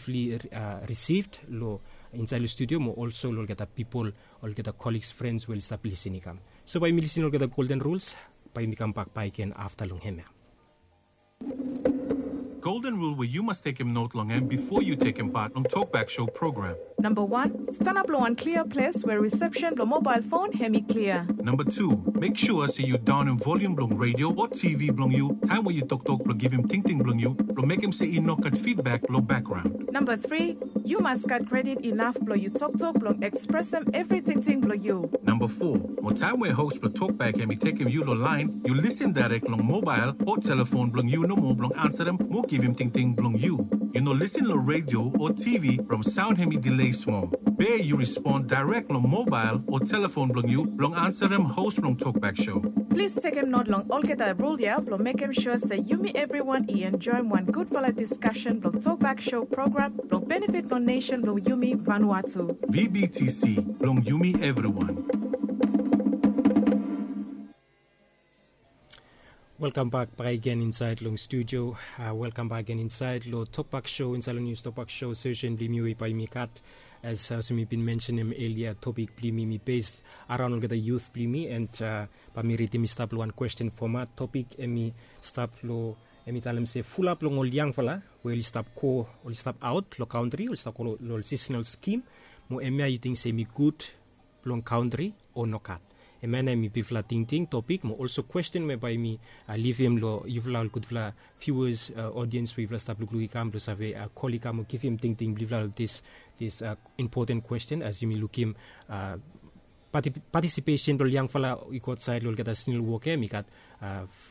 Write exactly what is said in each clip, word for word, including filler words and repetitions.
Fli risivd long insaed long studio mo olso long olgeta pipol, olgeta koliks, frens we oli stap lisin i kam. So bae yumi lisin long olgeta golden rules, bae yumi kambak bakegen afta long hemia. Golden rule we yu mas tekem not long hem bifo yu tekem pat long Tokbak Show program. Namba wan, stanap long wan klia ples we risepsen blong mobael fon hem i klia. Namba tu, mek sua se yu daonem volium blong redio o TV blong yu taem we yu toktok blong givim tingting blong yu blong mekem se i no gat fidbak long bakgraon. Namba tri, yu mas gat kredit inaf blong yu toktok blong ekspresem evri tingting blong yu. Namba fo, mo taem we hos blong Tokbak hem i tekem yu long laen, yu lisin daerek long mobael o telefon blong yu nomo blong ansarem mo givim tingting blong yu. Yu no lisin long redio o TV from saon hem i delei smol. Be yu respon daerek long mobael o telefon blong yu blong ansarem hos blong Tokbak Show. Plis tekem not long olgeta rul ya blong mekem sua se yumi evriwan i enjoem wan gudfala diskasen blong Tokbak Show program blong benefit blong nesen blong yumi Vanuatu. VBTC, blong yumi evriwan. Welkam bak bakegen insaed long studio. Welkam bak gen insaed long Tokbak Show, insaed long Nius Tokbak Show sesen blong yumi we bae yumi gat. As olsem mi bin mensenem elia, topik blong yumi mi bes araon olgeta yut blong yumi, and bae mi ridim i stap long wan kwesten fomat. Topik hem i stap long, hem i talem se fulap long ol yangfala we oli stap go, oli stap aot long kantri, oli stap go long ol sisenal skim, mo hemia yu ting se hem i gud blong kantri o nogat? Hemia nao hem i bigfala tingting topik mo olso kwesten we bae mi livim long yufala ol gudfala viuas, odiens we yufala stap lukluk i kam blong save kol i kam o givim tingting blong yufala long dis, dis impoten kwesten. As yumi lukim patisipesen blong ol yangfala i go aotsaed long olgeta sisenal wok ya, hem i gat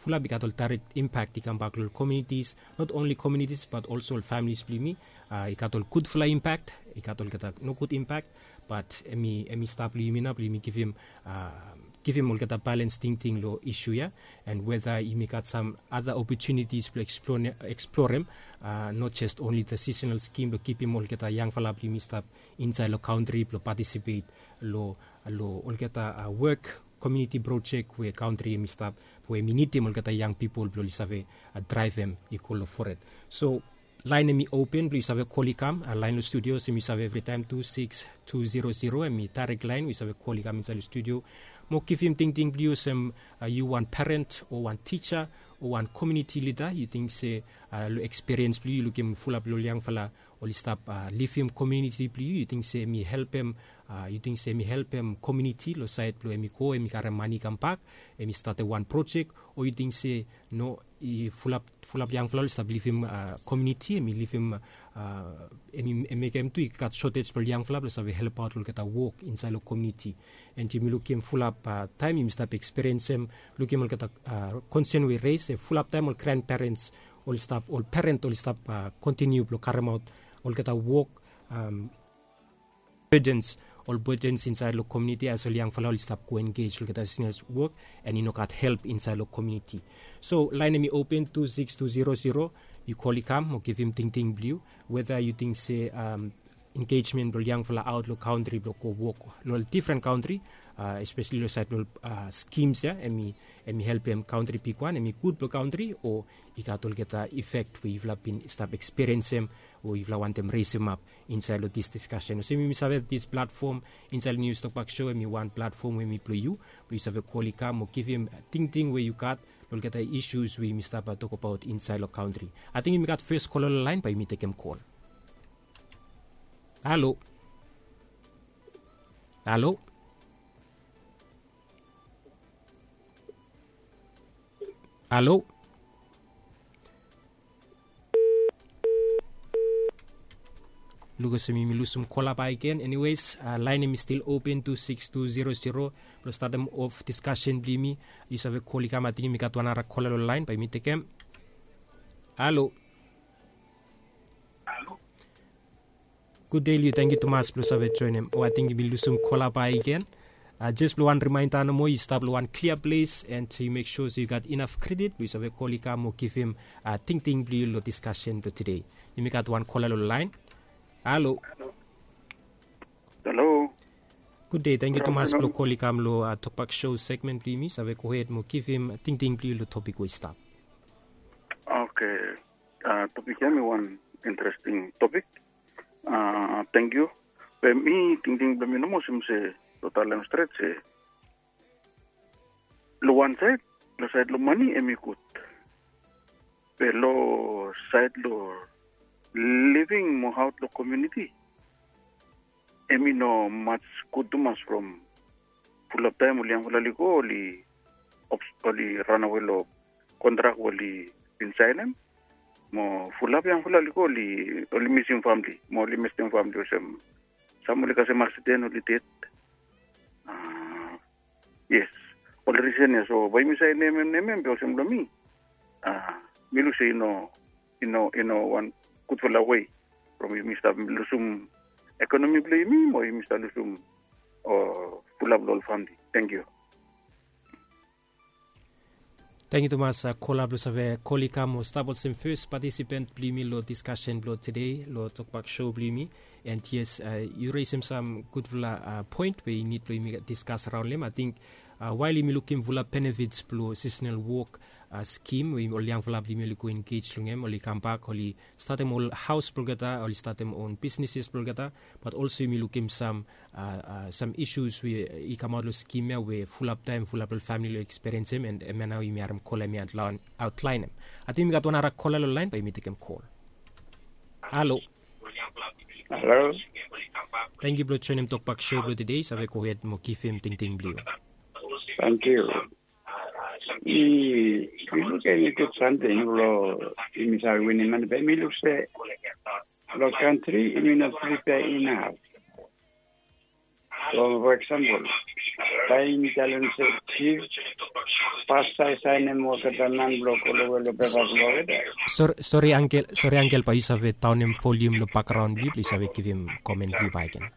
fulap i gat ol daerek impak i kambak long ol komunitis, not onli komunitis bat olso ol familis blong yumi. I gat ol gudfala impak, i gat olgeta nogud impak, bat hem i stap long yumi nao blong yumi givim, givim olgeta balens tingting long isu ya, and weta yumi gat sam ada opotunitis blong eksplorem, not jes onli the sisenal skim blong kipim olgeta yangfala blong yumi stap insaed long kantri blong patisipet long, long olgeta wok, komuniti projek we kantri hem i stap, we hem i nidim olgeta yang pipol blong oli save draevem i go long fored. So laen hem i open blong yu save kol i kam, laen long studio olsem yu save evritaem tu siks tu zero zero, hem i daerek laen we yu save kol i kam insaed long studio mo givim tingting blong yu olsem yu wan peren o wan tija o wan komuniti lida, yu ting se long ekspiriens blong yu, yu lukim fulap long ol yangfala oli stap livim komuniti blong yu, yu ting se hem i helpem, yu ting se hem i helpem komuniti long saed blong hem i go hem i karem mane i kambak, hem i statem wan projek, o yu ting se no, i fulap, fulap yangfala oli stap livim komuniti, hem i livim, hem i mekem tu i gat sotej blong ol yangfala blong save helpaot long olgeta wok insaed long komuniti. And yumi lukim fulap taem yumi stap ekspiriensem, lukim olgeta konsen we i res se fulap taem ol granperens oli stap, ol peren oli stap kontiniu blong karemaot olgeta wok, bedens, ol bedens insaed long komuniti as ol yangfala oli stap go engej long olgeta sisenal wok, and i no gat help insaed long komuniti. So laen hem i open tu siks tu zero zero, yu kol i kam mo givim tingting blong yu, weta yu ting se engejmen blong ol yangfala aot long kantri blong go wok long ol difren kantri, espeseli long saed blong ol skims ya, hem i, hem i helpem kantri bigwan, hem i gud blong kantri, o i gat olgeta ifek we yufala bin stap ekspiriensem o yufala wantem resemap insaed long dis diskasen. Olsem yumi save dis platfom insaed long Nius Tokbak Show hem i wan platfom we hem i blong yu, blong yu save kol i kam o givim tingting we yu gat long olgeta isus we yumi stap tokabaot insaed long kantri. Ating yumi gat fes kola long laen, bae yumi tekem kol. Halo? Halo? Halo? Luk olsem yumi lusum kola bakegen. Eniwes, laen hem i stil open tu siks tu zero zero blong statem of diskasen blong yumi. Yu save kol i kam, ating yumi gat wan nara kola long laen, bae yumi tekem. Halo? Gud dei long yu, tangkiu tumas blong save joenem. O ating yumi lusum kola bakegen. Jes blong wan rimaenda nomo, yu stap long wan klia ples, and yu mek sua se yu gat inaf kredit blong yu save kol i kam o givim tingting blong yu long diskasen blong tede. Yumi gat wan kola long laen. Halo? Halo? Gud dei, tangkiu tumas blong kol i kam long Tokbak Show segmen blong yumi, save gohed mo givim tingting blong yu long topik we i stap. Oke. Topik ya hem i wan interesting topik. Tangkiu. Be mi tingting blong mi nomo olsem se lo talem stret se lo wan saed, lo saed lo mani em i gud. Be lo saed lo living mo haot lo komuniti em i no mats gud tumas from fulap taem ol yangfala oli go oli ops- oli ranawe lo kontrak we oli bin saenem. Mo fulap yangfala oli go oli oli misim famili mo oli mestem famili olsem sam oli kasem aksiden oli ded. Yes, ol risen ya so bae yumi save nemem nemem be olsem long mi, mi luk se i no i no i no wan gudfala wei from yumi stap lusum ekonomi blong yumi mo yumi stap lusum o fulap long ol famili. Tangkiu. Tangkiu tumas kola blong save kol i kam o stap olsem fes patisipant blong yumi long diskasen blong tede long tokbak show blong yumi. And yes, yu resim sam gudfala poen we i nid blong yumi diskas raon long em. Ating wael yumi lukim fulap benefits blong seasonal wok skim we ol yangfala blong yumi oli go engej long em, oli kambak, oli statem ol haos blong olgeta, oli statem on bisneses blong olgeta. Bat olso yumi lukim sam sam isus we i kamaot long skim ya we fulap taem fulap long famili long ekspiriensim. And em ya nao yumi harim kola em ya aotlaenem. Ating yumi gat wan ara kola long laen bae yumi tekem kol. Halo. Halo. Tangkiu blong joenem tokbak show blong tede. Save gohed mo givim tingting blong yu. Tangkiu. I i luk em i gud samting blong yumi save winim mane be mi luk se long kantri yumi no pripea inaf. So for eksempel taem i talem se jif pasta i saenem olgeta man blong go long we long pepa blong olgeta. Sori sori angel, sori angel, bae yu save daonem volium long bakgraon blong yu blong yu save givim komen blong yu bakegen.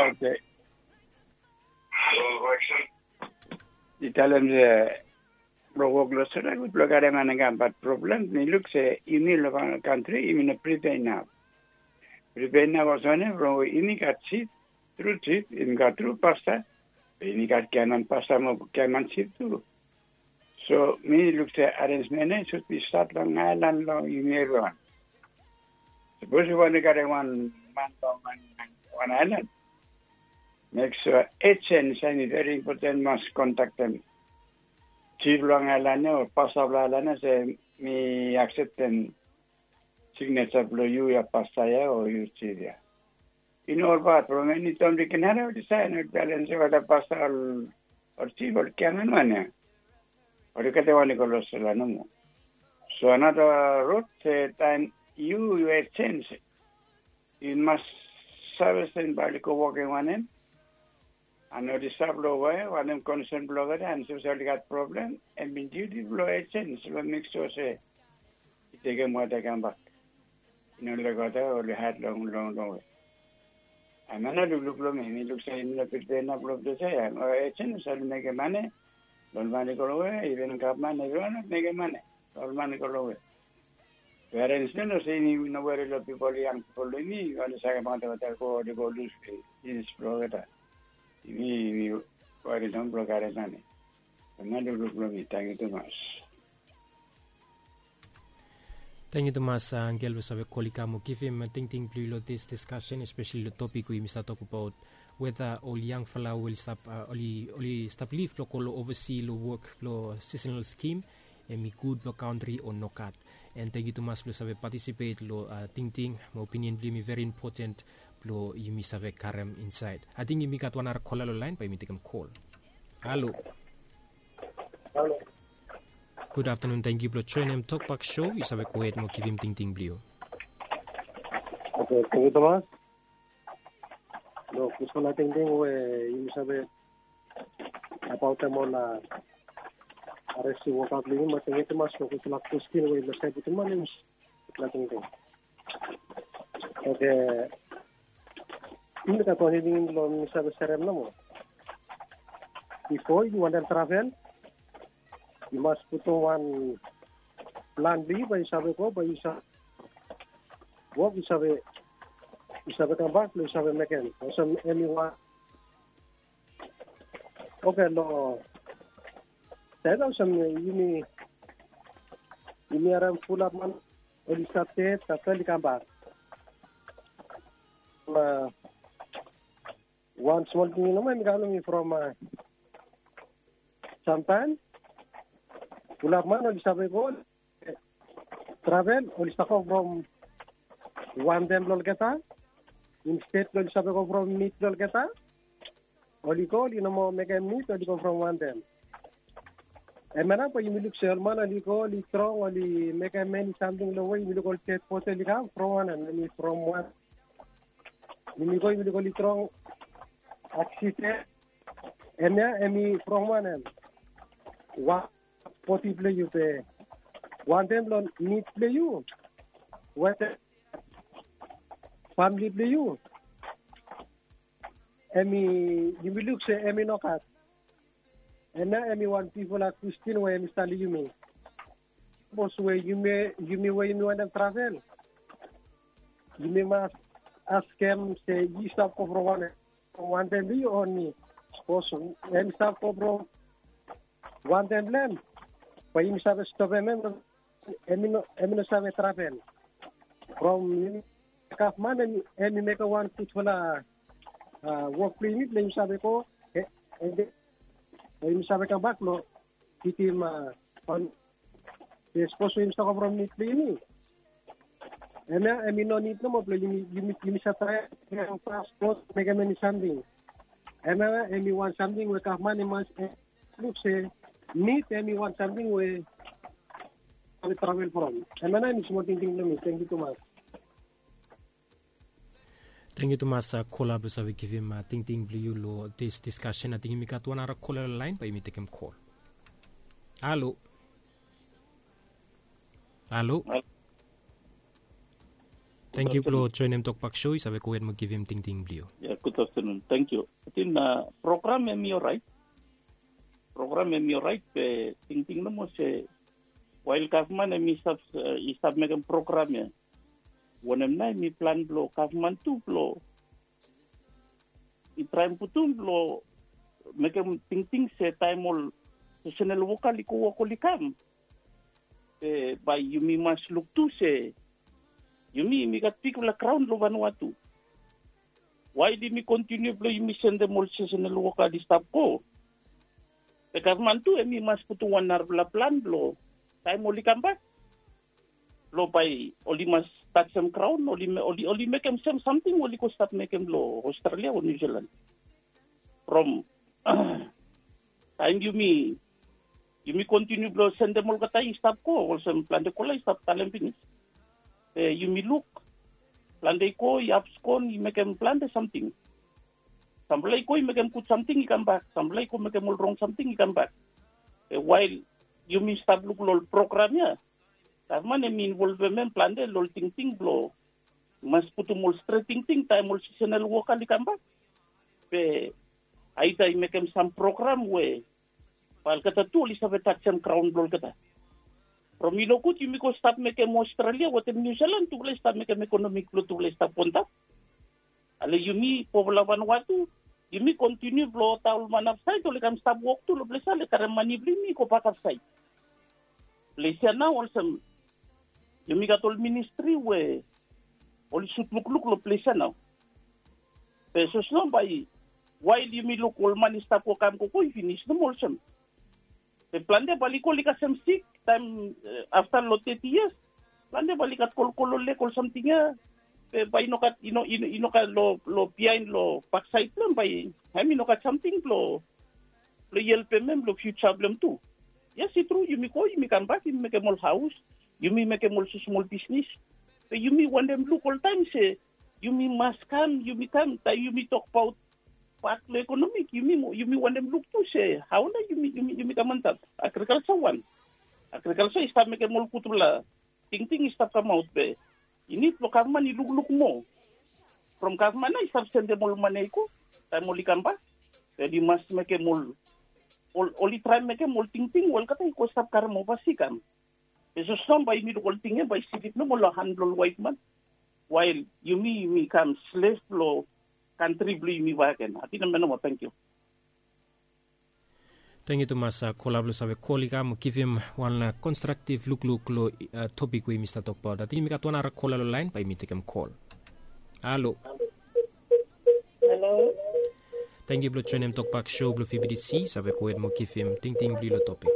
Oke. I talem se blong wok long sora gud blong karim anenga bat problem mi luk se yumi long kantri yumi no pripea inaf. Pripea inaf olsem wanem from we yumi gat sip, tru sip, yumi gat tru pasta, yumi gat giaman pasta mo giaman sip tu. So mi luk se arensmen ya i sud bi stat long aelan long yumi evriwan. Sapos yu wantem karim wan man long wan aelan, mek sua ejens ya i veri impoten mas kontaktem jif long aelan ya o pasta blong aelan ya se mi akseptem signeja blong yu ya pasta ya o yu jif ya. I no olbaot from eni taem de ken harem oli saen oli talem se olgeta pasta ol ol jif ol giaman wan ya. Oli gat wan i go long sela nomo. So anata rod se taem yu yu ejens yu mas save se bae oli go wokem wanem. An oli stap long we wanem konsen blong olgeta an sapos oli gat problem em bin diuti blong ejens blong mek sua se i tekem wata i kambak. I no lek wata oli haed long long long we. Em ya nao lukluk long mi mi luk se yumi no pripea inaf long ples ya. Ejens oli mekem mane long ol man i go long we, iven gavman evriwan oli mekem mane long ol man i go long we. Parens no no se yumi no weri long pipol, yang pipol long yumi oli save maket olgeta go oli go lus pinis blong olgeta. Yumi yumi weri long blong karim mane. Em ya lukluk blong mi. Tangkiu tumas. Tangkiu tumas angel we save kol i kam o givim tingting blong yu long dis diskasen, espeseli long topik we yumi stap tokbaot weta ol yangfala we oli stap oli oli stap lif blong go long ovasi long wok blong seasonal skim em i gud blong kantri o nogat. And tangkiu tumas blong save patisipet long tingting mo opinion blong yumi veri impoten blong yumi save karem insaed. Ating yumi gat wan ara kola long laen bae yumi tekem kol. Halo. Gud aftanun, tangkiu blong joenem tokbak show. Yu save gohed mo givim tingting blong yu. Oke, tangkiu tumas. Long gudfala tingting we yumi save abaotem ol a resi woka blong yumi, mo tangkiu tumas long gudfala kwestin we yumi save putum long yumi. Gudfala tingting. Oke. Yumi gat wan tingting blong mi save serem nomo. Bifo yu wantem travel yu mas putum wan plan blong yu bae yu save go bae yu save wok, yu save yu save kambak blong yu save mekem olsem em i wan. Oke, long saed olsem yumi yumi harem fulap man oli stap ded, afta oli kambak. Wan smol tingting nomo em i kam long mi from samtaem. Fulap man oli save go travel, oli stap go from wantem blong olgeta. Insted blong oli save go from nid blong olgeta, oli go, oli no moa mekem nid, oli go from wantem. Hemia nao bae yumi luk se ol man oli go, oli strong, oli mekem eni samting long we yumi luk ol ded bodi oli kam from wanem? Em i from wan, yumi go yumi luk oli strong aksiden. Hemia em i from wanem? Wan bodi blong yu be wantem long nid blong yu wetem famili blong yu. Em i, yumi luk se em i nogat. Hemia em i wan bigfala kwestin we em i stap long yumi. Sapos we yumi, yumi we yumi wantem travel, yumi mas askem se yu stap go from wanem? From wantem blong yu o nid? Sapos em i stap go from wantem blong hem, bae yumi save stopem hem, hem i no, hem i no save travel. From yumi, gavman hem i mekem wan gudfala wok blong yumi blong yumi save go, bae yumi save kambak long kitim wan. Sapos we yumi stap go from nid blong yumi, hemia hem i no nid nomo blong yumi, yumi, yumi save traem paspot, mekem eni samting. Hemia hem i wan samting we gavman hem i mas luk se nid hem i wan samting we save travel from. Hemia nao em i smol tingting blong mi. Tangkiu tumas. Tangkiu tumas kola blong save givim tingting blong yu long dis diskasen. Ating yumi gat wan nara kola long laen, bae yumi tekem kol. Halo. Halo. Tangkiu blong joenem tokbak so, yu save gohed mo givim tingting blong yu. Ya, gud aftanun. Tangkiu. Ating program hem i oraet. Program hem i oraet, be tingting nomo se wael gavman hem i stap, i stap mekem program ya, wanem nao hem i plan blong gavman tu blong i traem putum blong mekem tingting se taem ol seasonal woka oli go wok oli kam, be bae yumi mas luk tu se yumi, yumi gat bigfala graon long Vanuatu. Wael yumi kontiniu blong yumi sendem ol seasonal woka oli stap go, be gavman tu hem i mas putum wan narafala plan blong taem oli kambak, blong bae oli mas tajem graon, oli, oli, oli mekem sem samting we oli go stap mekem long Australia o New Zealand. From taem yumi, yumi kontiniu blong sendem olgeta i stap go, olsem plante kola i stap talem finis. Be yumi luk plante i go i abskon, i mekem plante samting. Samfala i go i mekem gud samting i kambak, samfala i go mekem ol rong samting i kambak. Be wael yumi stap luk long ol program ya, gavman hem i involvem hem plante long ol tingting blong mas putum ol stret tingting taem ol seasonal woka oli kambak. Be aida i mekem sam program we bae olgeta tu oli save tajem graon blong olgeta. From i nogud yumi go stap mekem Australia wetem New Zealand, tufala i stap mekem ekonomi blong tufala i stap goantap. Ale yumi fofala Vanuatu, yumi kontiniu blong olgeta ol man afsaed oli kam stap wok tu long ples ya, oli karem mane blong yumi i gobak afsaed. Ples ya nao olsem yumi gat ol ministri we oli sud lukluk long ples ya nao. Be sapos nao bae wael yumi luk ol man i stap go kam gogo i finis nomo olsem. Be plante bae oli go oli kasem sik taem afta long teti yias. Plante bae oli gat kolkol long leg ol samting ya. Be bae i no gat, i no, i no, i no gat long, long biaen long baksaed blong hem, bae hem i no gat samting blong, blong i helpem hem long fiuja blong hem tu. Yes, i tru, yumi go, yumi kambak, yumi mekem ol haos, yumi mekem ol smosmol bisnis. Be yumi wantem luk oltaem se yumi mas kam, yumi kam, taem yumi tokbaot pat long ekonomik, yumi, yumi wantem luk tu se hao nao yumi, yumi, yumi kam antap. Agrikalja wan. Agrikalja i stap mekem ol gudfala tingting i stap kamaot, be i nid blong gavman i lukluk moa. From gavman nao i stap sendem ol mane i go taem oli kambak. Be oli mas mekem ol, ol, oli traem mekem ol tingting we olgeta i go stap karem ovasi i kam. Be sapos nao bae yumi luk ol ting ya bae i slip nomo long han blong ol waetman. Wael yumi, yumi kam slev blong kantri blong yumi bakegen. Ating hemia nomo, tangkiu. Tengiu tumas kola blong save kol i kam givim wan konstraktiv lukluk long topik we yumi stap tokbaot. Ating yumi gat wan ara kola long lain, bae yumi tekem kol. Halo. Halo. Tengiu blong joenem tokbak show blong fibidisi. Save gohed mo givim tingting blong yu long topik.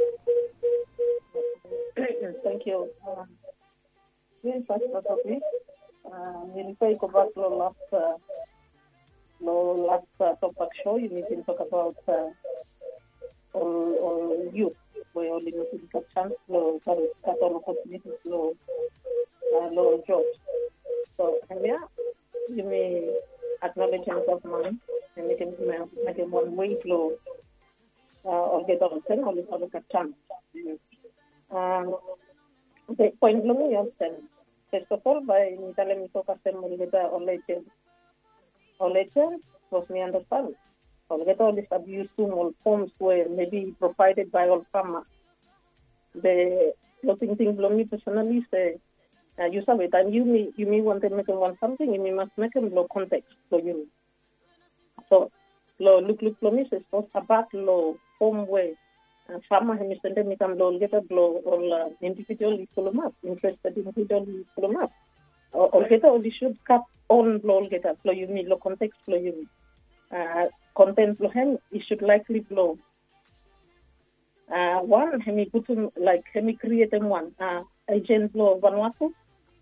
Tengiu. Yes, that's okay. Mi rifai gobak long las long las tokbak show yumi bin tokabaot ol ol yut we oli no bin gat sans long gat ol opotunitis long long ol job. So hemia yumi aknolejem gavman na mekem mekem wan wei blong olgeta olsem oli save gat sans. Poen blong mi i olsem, fes of ol bae mi talem mi tok kasem olgeta ol ejen ol ejen, bikos mi andastan olgeta oli stap yusum ol foms we mebi provaeded bae ol fama. Be long tingting blong mi pesonali se yu save taem yumi yumi wantem mekem wan samting yumi mas mekem long konteks blong yumi. So long lukluk blong mi se sapos abat long fom we fama hem i sendem i kam long olgeta blong ol individual i fulumap, interested individual i fulumap, olgeta oli sud gat on blong olgeta blong yumi long konteks blong yumi. Konten blong hem i sud laikli blong wan hem i putum laik hem i krietem wan ejen blong Vanuatu,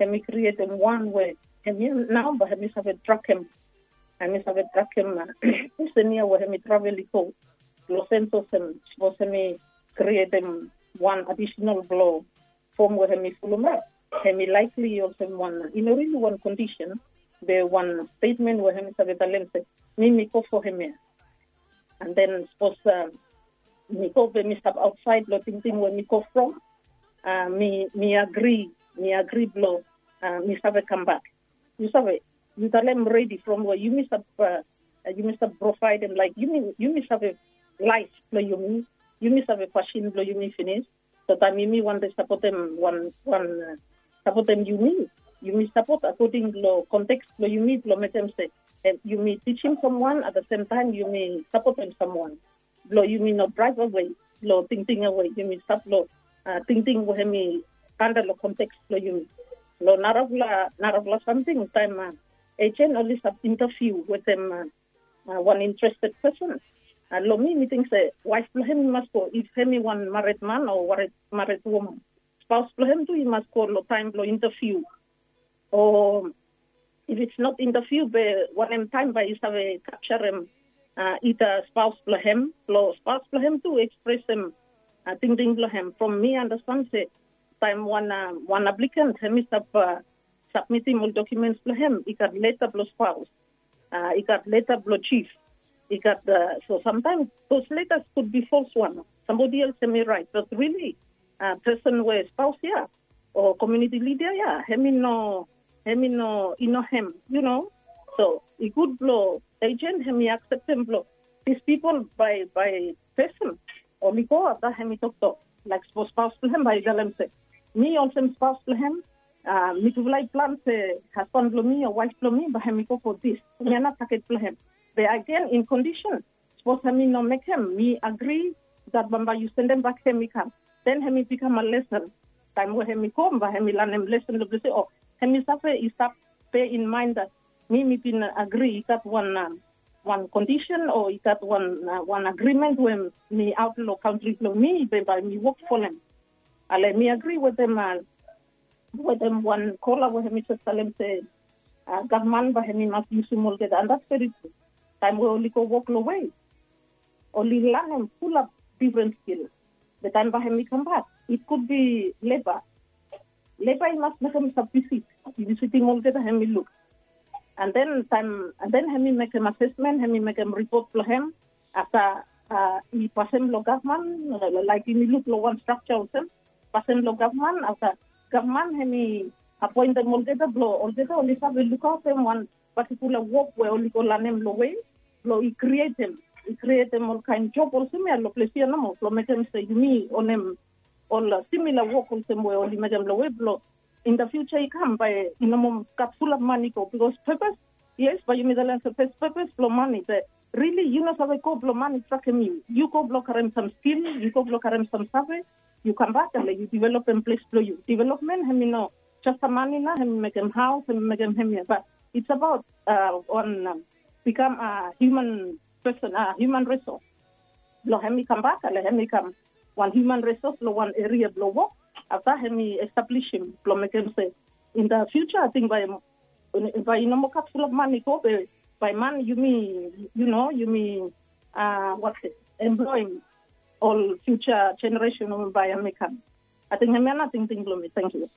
hem i krietem wan we hem ya nao bae hem i save trakem, hem i save trakem pesen ya we hem i travel i go. Long sens olsem sapos hem i krietem wan adisenal blong fom we hem i fulumap, hem i laikli olsem wan i no rili wan kondisen be wan stetmen we hem i save talem se mi mi go fo hemia. And then sapos mi go be mi stap aotsaed long tingting we mi go from, mi mi agri mi agri blong mi save kambak. Yu save, yu talem redi from we yumi stap yumi stap provaedem laik yumi yumi save laef blong yumi, yumi save fasin blong yumi finis. So taem yumi wantem sapotem wan wan sapotem yumi, yumi sapot akoding long konteks blong yumi blong mekem se yumi tijim samwan at the sem taem yumi sapotem samwan blong yumi no draev awe long tingting awe yumi stap long tingting we hem i anda long konteks blong yumi. Long narafala narafala samting taem ejen oli stap intaviu wetem wan interested pesen. Long mi mi ting se waef blong hem i mas go if hem i wan mared man o mared woman, spaos blong hem tu i mas go long taem blong intaviu. O if it's not intaviu be wanem taem bae i save kapjarem ita spaos blong hem blong spaos blong hem tu ekspresem tingting blong hem. From mi andastan se taem wan wan aplikant hem i stap sapmitim ol dokumens blong hem i gat leta blong spaos, i gat leta blong jif, i gat so samtaem those letas could be false wan, somebody else hem i raet but rili pesen we spaos ya o komiuniti lida ya hem i no hem i no i no hem yu no. So i gud blong ejen hem i akseptem blong dis pipol bae bae pesen oli go afta hem i toktok laik sapos spaos blong hem bae i talem se mi olsem spaos blong hem mitufala i plan se hasban blong mi o waef blong mi bae hem i go fo dis. Mi ana taket blong hem be agen in kondisen sapos hem i no mekem mi agri dat bambae yu sendem bak hem i kam den hem i bikam a lesen. Taem we hem i go bae hem i lanem lesen long ples ya o hem i save i stap pe in maen dat mi mi bin agri i gat wan wan kondisen o i gat wan wan agrimen we mi aot long kantri blong mi be bae mi wok folem. Ale mi agri wetem wetem wan kola we hem i jes talem se gavman bae hem i mas yusum olgeta and dats veri tru. Taem we oli go wok long wei oli lanem fulap difren skil. Be taem bae hem i kambak it kudbi leba. Leba i mas mekem sab visit i visitim olgeta hem i luk. And then taem and then hem i mekem asesmen hem i mekem ripot blong hem afta i pasem long gavman laik yumi luk long wan strakja olsem pasem long gavman afta gavman hem i apoentem olgeta blong olgeta oli save lukaotem wan patikula wok we oli go lanem long we blong i krietem i krietem olkaen job olsem ya long ples ya nomo blong mekem se yumi onem ol simila wok olsem we oli mekem long we blong in da fiuja i kam bae i no moa gat fulap mani go bikos pepes yes bae yumi talem se pepes blong mani be Rili yu no save go blong man i trakem yu. Yu go blong karem sam skil, yu go blong karem sam save, yu kambak ale yu developem ples blong yu. Developmen hem i no jes sam mane nao hem i mekem haos hem i mekem hem ya bat it's abaot wan bikam hiuman pesen hiuman resos. Blong hem i kambak ale hem i kam wan hiuman resos long wan eria blong wok. Afta hem i establisim blong mekem se in da fiuja ating bai bai i no moa gat fulap man i go be bai man yumi yu no yumi a wat se employim ol fiuja jeneresen we bai hem i kam. Ating hem ya na tingting blong mi. Tangkiu.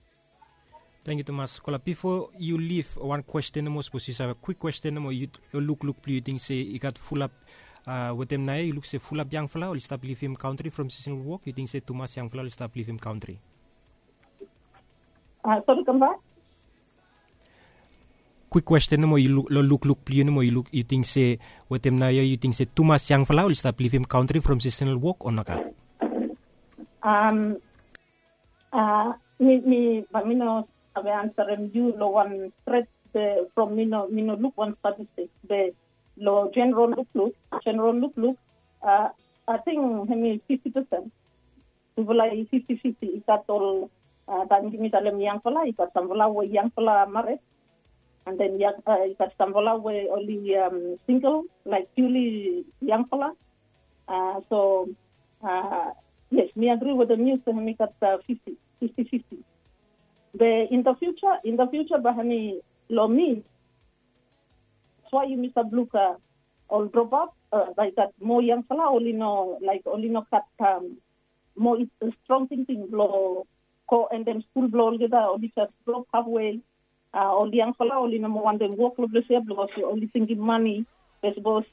Tangkiu tumas kola bifo yu lif wan kwesten nomo sapos yu save kwik kwesten nomo yu lukluk blong yu ting se i gat fulap wetem nao ya yu luk se fulap yangfala oli stap livim kantri from sisonal wok yu ting se tumas yangfala oli stap livim kantri. Sori kambak. Kwik kwesten nomo long lukluk blong yu nomo yu ting se wetem nao ya yu ting se tumas yangfala oli stap livim kantri from sisonal wok o nogat? Mi mi bai mi no save ansarem yu long wan stret be from mi no mi no luk wan statistik be long jeneral lukluk jeneral lukluk ating hem i fifti pesen. Tufala i fifti fifti i gat ol taim yumi talem yangfala i gat samfala we yangfala maret. And then i gat samfala we oli singel laik piuli yangfala. So yes mi agri wetem yu se hem i gat fifti fifti fifti. Be in the future in the future bai hem i long mi. That's why yumi save luk ol drop out bai gat moa yangfala oli no laik oli no gat moa strong tingting blong go endem skul blong olgeta oli jes drop hafwe. Ol yangfala oli no moa wantem wok long ples ya bikos oli tingim mani. Be sapos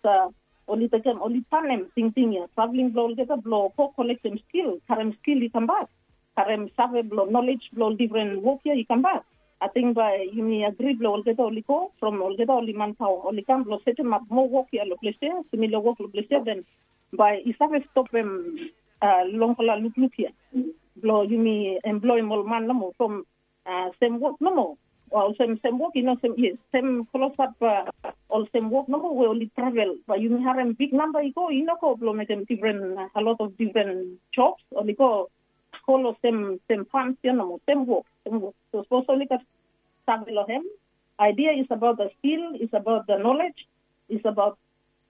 oli tekem oli tanem tingting ya traveling blong olgeta blong go kolektem skil karem skil i kambak. Karem save blong nolej blong ol difren wok ya i kambak. Ating bai yumi agri blong olgeta oli go from olgeta oli manpaoa oli kam blong setemap moa wok ya long ples ya simila wok long ples ya den bai i save stopem longfala lukluk ya blong yumi emploim ol man nomo from sem wok nomo. Olsem sem wok i no sem yes sem klosap olsem wok nomo we oli travel bai yumi harem bik namba i go i no go blong mekem difren a lot of difren jobs oli go go long sem sem fans ya nomo sem wok sem wok. So sapos oli gat save long hem idea is about the skill is about the knowledge is about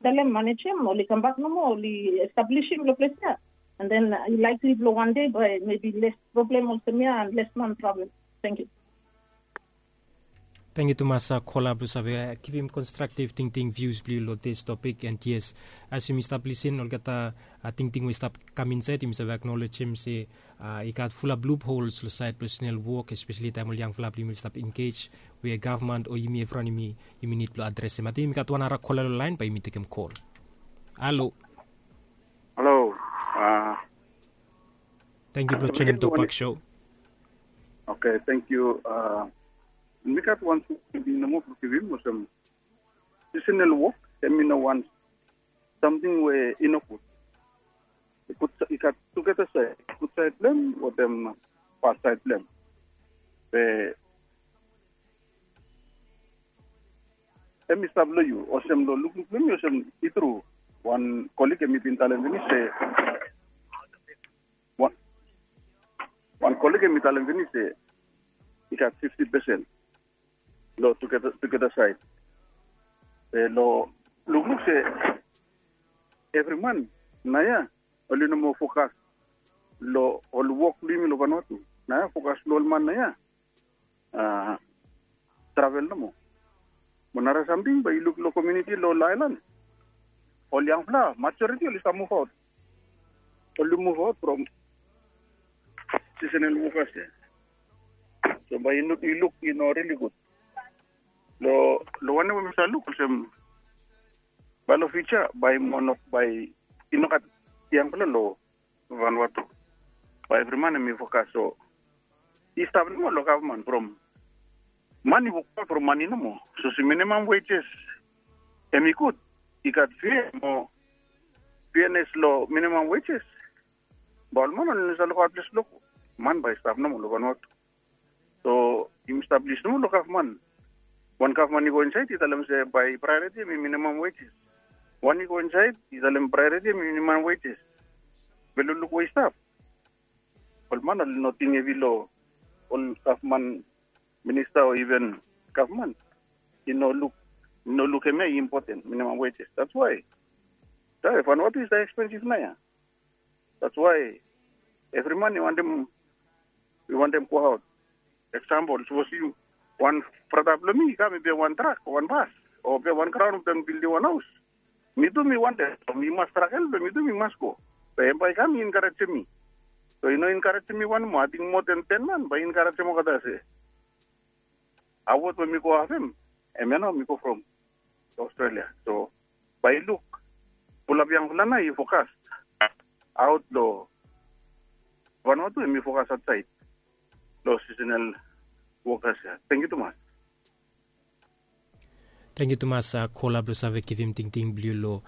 telem manejem oli kambak nomo oli establisim long ples ya. And then i laikli blong wan dei bai mebi les problem olsem ya and les man travel. Tangkiu. Tangkiu tumas kola blong save givim konstraktiv tingting vius blong yu long dis topik and yes as yumi stap lisin olgeta tingting we i stap kam insaed yumi save aknolejem se i gat fulap luphols long saed blong sinel wok espeseli taem ol yangfala blong yumi oli stap engej we gavman o yumi evriwan yumi yumi nid blong adresem ating yumi gat wan ara kola long laen bae yumi tekem kol. Halo. Halo. Tangkiu blong joinim tokbak sho. Oke tangkiu. Mi gat wan samting nomo blong givim olsem sisenel wok em i no wan samting we i no gud. I gat tugeta saed gud saed blong em wetem bad saed blong em. Be em i stap long yu olsem long lukluk blong mi olsem i tru. Wan kolik em i bin talem finis se wan kolik em i talem finis se i gat fifti pesen long tugeta saed. Be long lukluk se evri man naoia oli no moa fokas long ol wok blong yumi long vanua tu. Naoia fokas long ol man naoia travel nomo. Mo nara samting bae yu luk long komiuniti long ol aelan ol yangfala majoriti oli stap muvaot. Oli muvaot from sisenel wokas ya. So bae yu luk i no rili gud. Long wanem we mi save luk olsem bae long fiuja bae i no gat yangfala long vanua tu. Bae evri man em i fokas so i stap nomo long gavman from mani wokbaot from mani nomo. So se minimam wejes em i gud. I gat fia mo fianes long minimam wejes. Bae ol man oli no save lukaot ples blong go man bae i stap nomo long vanua tu. So yumi stap lis nomo long gavman. Wan gavman i go insaed i talem se bae praeoriti em i minimam wejes. Wan i go insaed i talem praeriti em i minimam wejes. Be lukluk we i stap. Ol man oli no ting hevi long ol gavman minista o iven gavman i no luk i no luk hemia i impoten minimam wejes. That's why. Vanuatu i stap ekspensif nao ya. That's why evri man i wantem i wantem go aot. Eksampol, sapos yu wan brata blong mi i kam i pia wan trak o wan bas o pia wan graun blong bildim wan haus, mi tu mi wantem, mi mas trakel be mi tu mi mas go. Be em bae i kam i enkarejem mi. So i no enkarejem mi wan moa, ating moa ten ten man bae i enkarejem olgeta se awot we mi go afem, em ya nao mi go from Australia. So bae i luk pulap yangfala nao i fokas aot long Vanuatu, em i fokas aotsaed long seasonal workers ya. Thank you tumas. Thank you tumas, kola blong save givim tingting blong yu long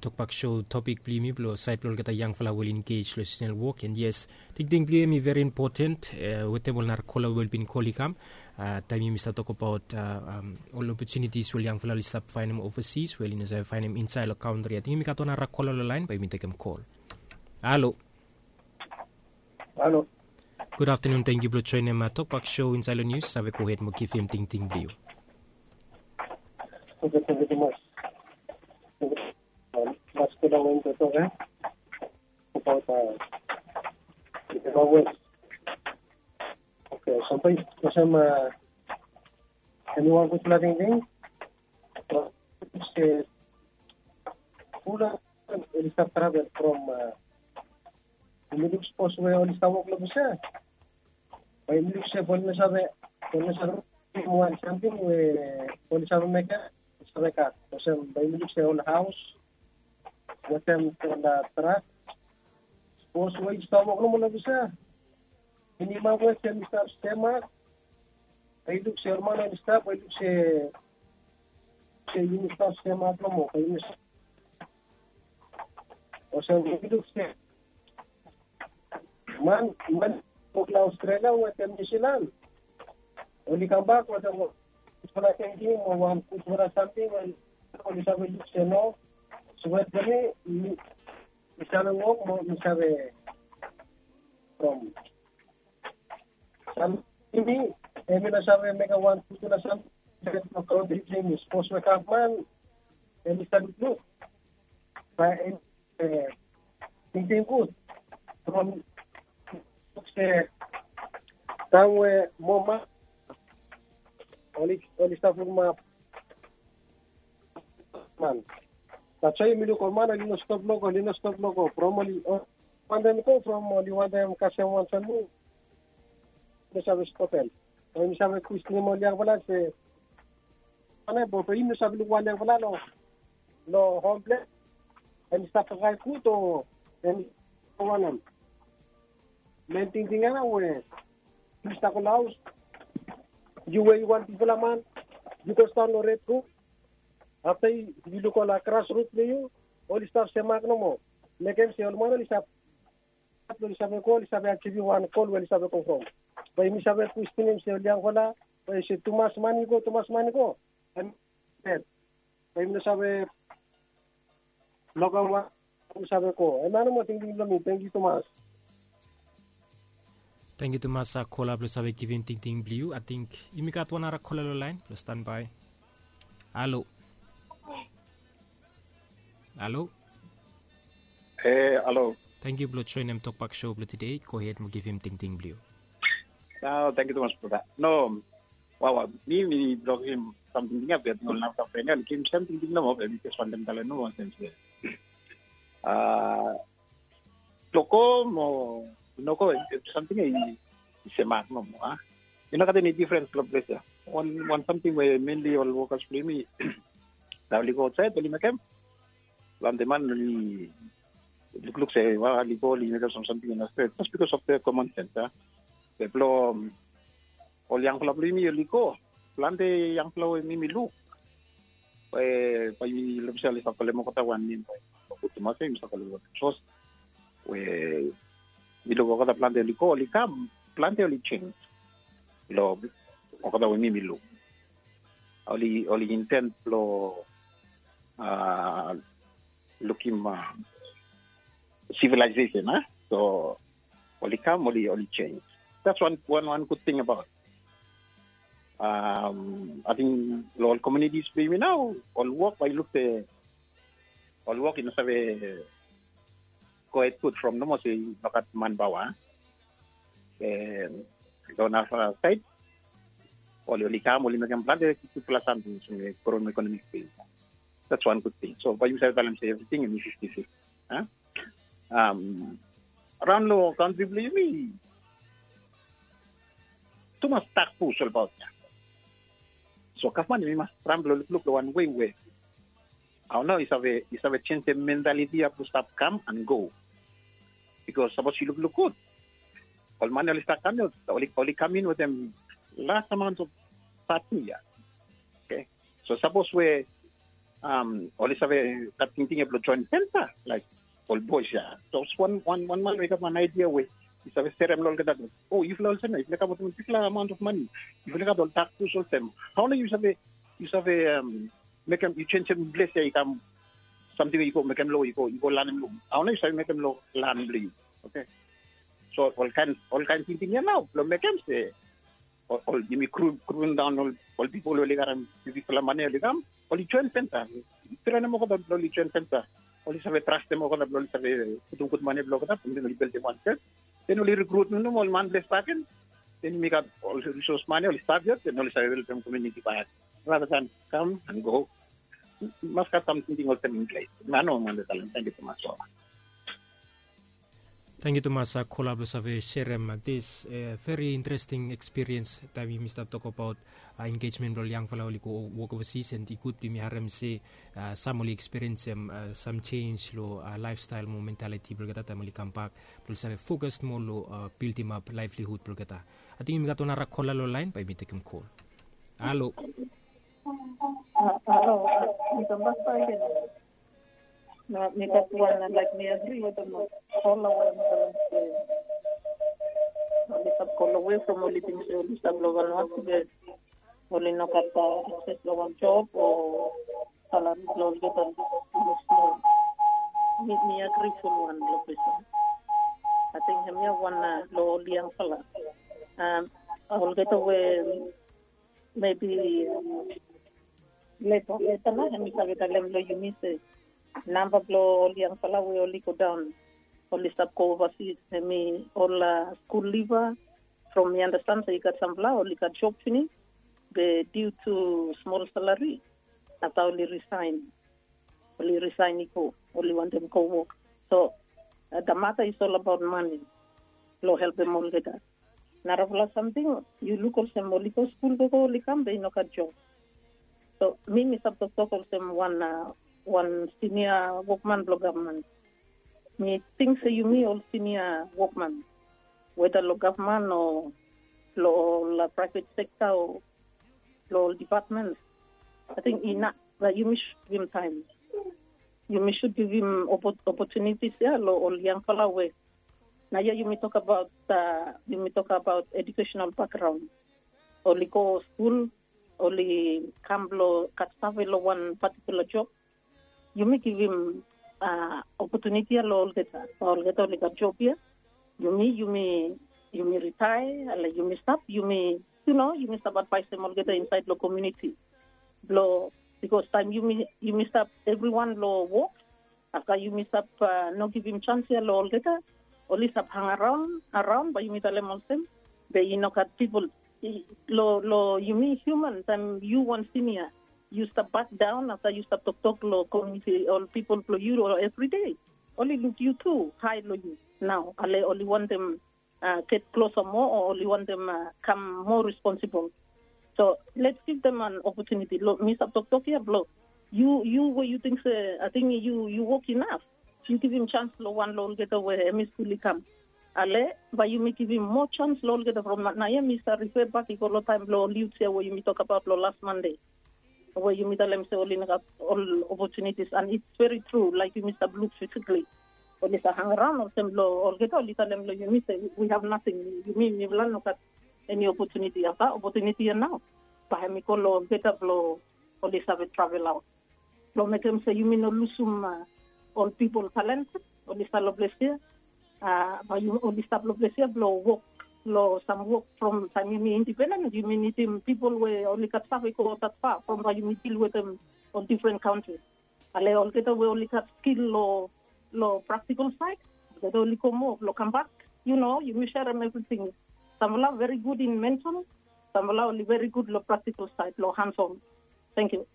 tokbak show. Topik blong yumi blong saed blong olgeta yangfala we oli engage long seasonal work. And yes, tingting blong yu em i very important. Wetem ol nara kola we oli bin kol i kam, taem yumi stap tokabaot ol opportunities we ol yangfala oli stap faenem overseas we oli no save faenem insaed long kantri. Ating yumi gat wan nara kola long laen, bae yumi tekem kol. Halo. Halo. Gud aftanun, tangkiu blong joenem tokbak show insaed long nius. Save gohed mo givim tingting blong yu. Oke, tangkiu tumas. Mas kula wen to tok e abaot a, oke, sampai olsem, em i wan gudfala tingting se kula oli stap travel from, yumi luk sapos we oli stap wok long ples ya, bae yumi luk se oli no save, oli no save wan samting we oli save mekem, oli save gat olsem bae yumi luk se ol haos wetem ol trak. Sapos we oli stap wok nomo long ples ya, minimam we se oli stap semak, bae yumi luk se ol man oli stap, bae yumi luk se se yumi stap semak nomo, bae yumi olsem we yumi luk se man, man wok long Australia wetem Niu Silan, oli kambak wetem gudfala tingting o wan gudfala samting we oli save luk se no, save blong mi, mi save wok mo mi save from samting, mi, em i no save mekem wan gudfala samting long kantri blong yumi. Sapos we gavman em i stap lukluk, bae em i tingting gud from se taem we moa man oli, oli stap lukmap man. That's why yumi luk ol man oli no stop long go, oli no stop long go from oli wantem go from oli wantem kasem wan samting. Oli save stopem. Bae yumi save kwestinim ol yangfala se wanem, be yumi no save luk wan yangfala long, long hom ples, em i stap kakae gud o em i wanem. Men tingting ya nao we yu stap go long haos, yu we yu wan bigfala man, yu go stap long red rut. Afta yu luk ol grasrut blong yu, oli stap semak nomo. Mekem se ol man oli stap, oli save go, oli save ajivim wan gol we oli save go from. Bae yumi save kwestinim se ol yangfala, bae se tumas man i go, tumas man i go. Em, bae yumi no save lokam wan, yumi save go. Em ya nomo tingting blong mi. Tangkiu tumas. Tangkiu tumas, kola blong save givim tingting blong yu. Ating yumi gat wan nara kola long laen blong stanbae. Halo. Halo. E, halo. Tangkiu blong joenem tokbak show blong tede. Gohed mo givim tingting blong yu. Tangkiu tumas brata. No, wawa, mi, mi blong givim samting ya, be ating ol nara pren ya oli givim sem tingting nomo, be mi jes wantem talem nomo olsem se a, loko mo loko, samting ya i semak nomo a. I no gat eni difrens long ples ya. Wan, wan samting we menli ol wokas blong yumi taem oli go aotsaed oli mekem. Plante man oli lukluk se wa oli go oli mekem sam samting i no stret just bikos of the common sense a. Be blong ol yangfala blong yumi oli go, plante yangfala we mi mi luk, we bae yumi luk se oli stap kolem olgeta wan nem bae i no gud tumas we yumi stap kolem olgeta. Sapos we mi luk olgeta plante oli go, oli kam, plante oli jenis long olgeta we mi mi luk. Oli, oli intent blong a, lukim sivilaisesen a. So oli kam oli oli chens. That's one one one good thing about ating long ol komunitis blong yumi nao. Ol wok bai luk se ol wok i no save go hed gud from nomo se i no gat manpaoa. Long nasa said oli oli kam oli mekem plante gudpela samting so me grom ekonomi blong yumi. That's one good thing. So bai yumi save talem se everything em i fifty fifty. Raun long kantri blong yumi tumas dak bus olbaot ya. So gavman yumi mas tram blong lukluk long wan wei we au nao i save i save jenjem mentaliti ya blong stap kam and go. Bikos sapos yu lukluk gud ol mani oli stap kam ya oli oli kam in wetem las amaunt of satu ya. Oke. So sapos we oli save gat tingting ya blong join penta laik ol bois ya. Sapos wan wan wan man we i gat wan aidia we i save serem long olgeta blong o yufala olsem ya yufala gat wan bikpela amaunt of mani yufala gat ol dak bus olsem. Hau nao yu save yu save mekem yu jenjem ples ya i kam samting we yu go mekem lo yu go yu go lanem lo hau nao yu save mekem lo lan blong yu. Oke. So ol kain ol kain tingting ya nao blong mekem se ol yumi gruvim daon ol pipol oli garem bigfala mane oli kam oli join penta. Trenem olgeta blong oli join penta oli save trastem olgeta blong oli save putum gud mane blong olgeta blong oli bildim wan church. Den oli rikrut nomo ol man ples bagen den yumi gat ol risos mane oli stap yet den oli save helpem komuniti bagen. Rather than kam and go mas gat sam tingting olsem in ples. Nano mande talem tangki tumas. Tangki tumas kola blong save serem dis veri interesting ekspiriens taim yumi stap tok abaut engejmen blong ol yangfala oli go wok ovasis and i gud blong yumi harem se sam oli ekspiriensim sam jenj long laifstail mo mentaliti blong olgeta taim oli kambak blong oli save fokas moa long bildimap laivlihud blong olgeta. Ating yumi gat wanara kola long lain bai yumi tekim kol. Halo. Halo. Mi kambak bagen. Na mi gat wan laik mi agri wetem ol lawan ol oli stap go long wei from ol i ting se oli stap long wan wak be oli no gat akses long wan job o salari blong olgeta. Mi agri fulwan long ples ya. Ating hemia wan long ol yangfala olgeta we mebi leta leta na hem i save talem long yumi se namba blong ol yangfala we oli go daon oli stap go ovasis hem i ol skul liva. From mi andastan se i gat sampela oli gat job pinis be diu tu smol salari afta oli risain. Oli risain i go oli wantem go wok. So da mata is ol abaot mani blong helpem olgeta. Narafala samting yu luk olsem oli go skul gogo oli kam be i no gat job. So mi mi save toktok olsem wan wan sinia wokman blong gavman. Mi ting se yumi ol sinia wokman weda long gavman o long ol praevet sekta o long ol dipatmen ating inap. Yumi sud givim taim yumi sud givim opotunitis ya long ol yangfala we na ya yumi tokabaot yumi tokabaot edukesenal bakgraun. Oli go skul oli kam blong gat save long wan patikula job. Yumi givim opotuniti ya long olgeta olgeta oli gat job ya. Yumi yumi yumi ritae ale yumi stap yumi yu no yumi stap advaisem olgeta insaed long komuniti blong bikos taem yumi yumi stap evriwan long wok afta yumi stap no givim jans ya long olgeta oli stap hang araon araon bae yumi talem olsem be i no gat pipol long long yumi hiuman taem yu wan sinia yu stap bak daon afta yu stap toktok long komuniti ol pipol blong yu long evride oli luk yu tu hae long yu nao ale oli wantem get klosa moa o oli wantem kam moa responsibol. So lets givdem an opotuniti long mi save toktok ya blong yu yu we yu ting se ating yu yu wok inaf yu givim jans long wan long olgeta we em i skul i kam ale bae yumi givim moa jans long olgeta from naoia mi save rife bak i go long taem blong ol yuts ya we yumi tokabaot long las mande we yumi talem se oli no gat ol opotunitis an its veri tru laik yumi stap luk fisikli oli save hangaraon olsem long olgeta oli talem long yumi se wi hav nating yumi mifala no gat eni opotuniti afta opotuniti ya nao bae hem i go long olgeta blong oli save travel aot blong mekem se yumi no lusum ol pipol talent oli stap long ples ya. Bae oli stap long ples ya blong wok long sam wok. From taem yumi indipenden yumi nidim pipol we oli gat save go tatfa from bae yumi dil wetem ol difren kantri. Ale olgeta we oli gat skil long praktikal saed, olgeta oli go moa blong kambak. Yu no yumi serem evriting. Samfala veri gud in mental, samfala oli veri gud long praktikal saed long hansom. Tangkiu.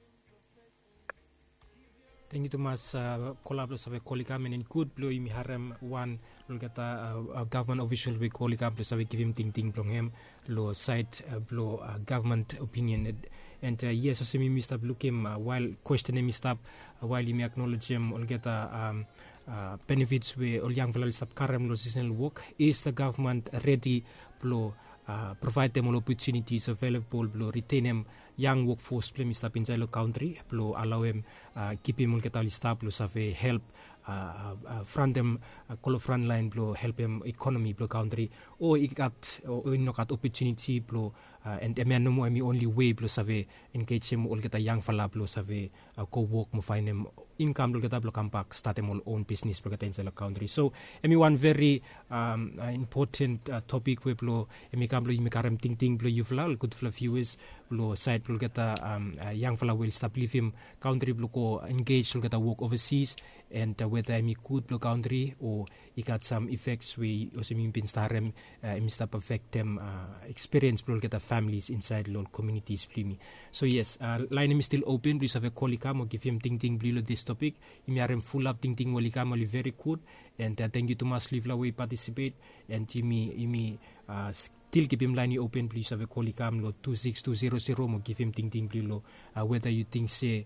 Tangkiu tumas. Kola blong save kol i kam and gud blong yumi harem wan long olgeta gavman ofisol we kol i kam blong save givim tingting blong hem long saed blong gavman opinion. And yes, olsem yumi stap lukim wael kwesten hem i stap, wael yumi aknolejem olgeta benefits we ol yangfala oli stap karem long sisenal wok, is the gavman redi blong provaedem ol opotunitis avelabol blong ritenem yang wokfos blong hem i stap insaed long kantri blong alaoem kipim olgeta oli stap long save help frantem go long fran laen blong helpem ekonomi blong kantri, o i gat o i no gat opotuniti blong and hemia nomo hem i onli wei blong save engejem olgeta yangfala blong save go wok mo faenem inkam blong olgeta blong kambak statem ol on bisnis blong olgeta insaed long kantri. So hem i wan veri impoten topik we blong hem i kam blong yumi karem tingting blong yufala ol gudfala viuas long saed blong olgeta yangfala we oli stap livim kantri blong go engej long olgeta wok ovasis, and weta hem i gud blong kantri o i gat sam ifeks we olsem yumi bin stap harem hem i stap afektem ekspiriens blong olgeta familis insaed long ol komunitis blong yumi. So yes, laen hem i stil open blong yu save kol i kam o givim tingting blong yu long dis topik. Yumi harem fulap tingting we oli kam oli veri gud. And tangkiu tumas long yufala we i patisipet. And yumi yumi stil kipim laen i open blong yu save kol i kam long tu siks tu zero zero mo givim tingting blong yu long weta yu ting se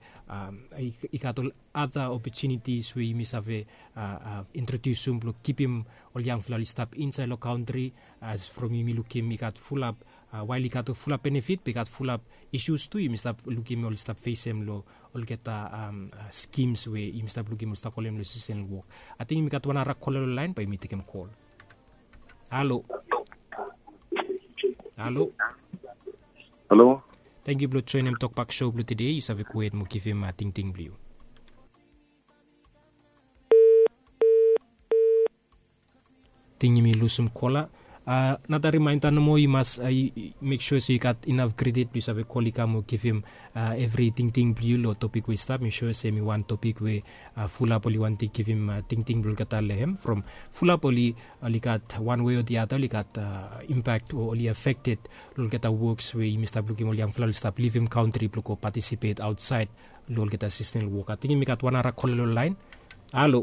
i gat ol ada opotunitis we yumi save introdiusum blong kipim ol yangfala oli stap insaed long kantri. As from yumi lukim i gat fulap wael i gat fulap benefit be i gat fulap isus tu yumi stap lukim oli stap fesem long olgeta skims we yumi stap lukim oli stap kolem long sisenal wok. Ating yumi gat wan ara kola long laen bae yumi tekem kol. Halo. Halo. Halo. Tangkiu blong joenem tokbak sho blong tede. Yu save gohed mo givim tingting blong yu. Ting yumi lusum kola. Nata rimaenda nomo yu mas mek sua se yu gat inaf kredit blong yu save kol i kam o givim evri tingting blong yu long topik we i stap. Mi sua se hem i wan topik we fulap oli wantem givim tingting blong olgeta long hem from fulap oli oli gat wan wei o di ada oli gat impak o oli afekted long olgeta woks we yumi stap lukim ol yangfala oli stap livim kantri blong go patisipet aotsaed long olgeta sistem long wok. Ating yumi gat wan ara kola long laen. Halo.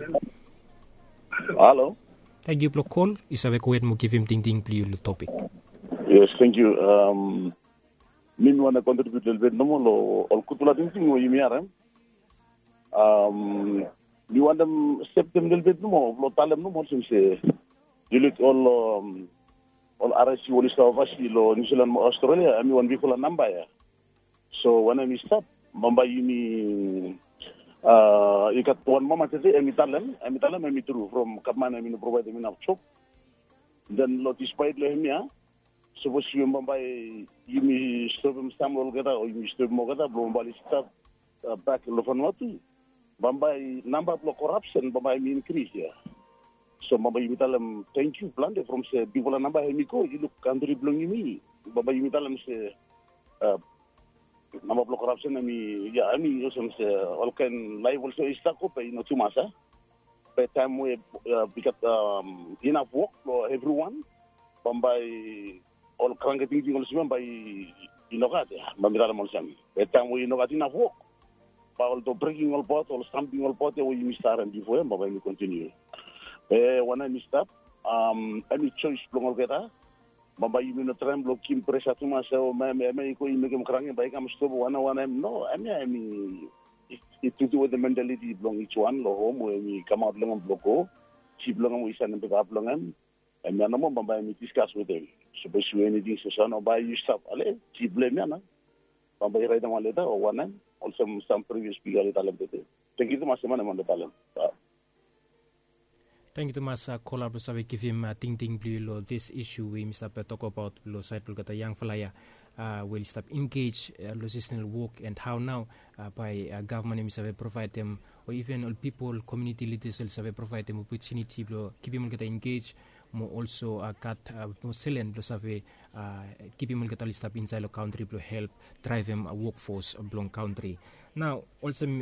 Halo. Tangkiu blong kol. Yu save gohed mo givim tingting blong yu long topik. Yes, tangkiu. Mi mi wantem kontribiut lelebet nomo long ol gudfala tingting we yumi harem. Mi wantem steptem lelebet nomo blong talem nomo olsem se yu luk ol ol aresi we oli stap avasi long niusilan mo australia em i wan bigfala namba ya. So wanem i stap bambae yumi i gat wan mama tete em i talem em i talem em i tru from gavman em i no provaedem inaf jop. Den long dispaet long em ya sapos yumi bambae yumi stopim sam olgeta o yumi stopim olgeta blong bambae oli stap bak long fanua tu, bambae namba blong korapsen bambae em i inkris ya. So bambae yumi talem tangkiu plante from se bigfala namba em i go i luk kantri blong yumi. Bambae yumi talem se namba blong korapsen em i ya em i olsem se olkaen laef olsem i stap go be i no tumas a. Be taem we i gat inaf wok blong evriwan bambae ol kranke tingting olsem ya bae i no gat ya bae mi talem olsem. Be taem we i no gat inaf wok bae ol do breking ol bot ol stamping ol bot ya we yumi stap harem bifo ya bae mi kontiniu. Be wanem i stap em i joes blong olgeta. Bambae yumi no traem blong givim presa tumas ya o mem em ya i go i mekem kranke bae i kam stop wanem wanem no em ya em i i tutu wetem mentaliti blong ij wan long hom we em i kamaot long em blong go. Jip blong em we i sanem pepa blong em. Em ya nomo bambae em i diskas wetem sapos yu eniting sesa no bae yu stap ale jip blong em ya na bambae i raetem wan leta o wanem olsem sam privios bigfala i talem tete. Tangkiu tumas em wanem wan de talem. Tangkiu tumas kola blong save givim tingting blong yu long dis isu we yumi stap tokabaot long saed blong olgeta yangfala ya. we oli stap engej long seasonal wok, and hao nao bae gavman hem i save provaedem, o iven ol pipol komiuniti lidas oli save provaedem opotuniti blong kipim olgeta engej, mo olso gat mo selen blong save kipim olgeta oli stap insaed long kantri blong help draevem wokfos blong kantri. Nao olsem